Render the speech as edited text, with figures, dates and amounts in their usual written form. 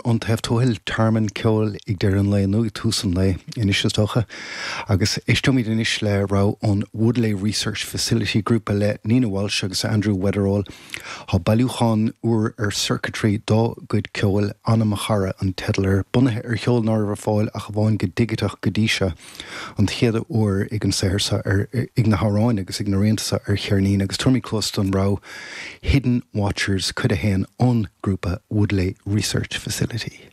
Iontaobh Tuathail, Tearmann Ceoil ag deireadh an lae nó ag tús an lae anois is dócha. Agus éisteoimid anois le rogha ón Woodlea Research Facility, grúpa le Nina Walsh agus Andrew Weatherall. Tá bailiúchán úr ar Circuitry dá gcuid ceoil, Anam a Chara an teideal air, bunaithe ar cheol ná raibh ar fáil ach amháin go digiteach go dtí seo. An chéad uair ag an saothar seo ar, ag na hamhráin agus ag na rianta seo ar cheirnín agus tabharfaimid cluas don rogha Hidden Watchers, cuid 1 ón grúpa Woodlea Research Facility.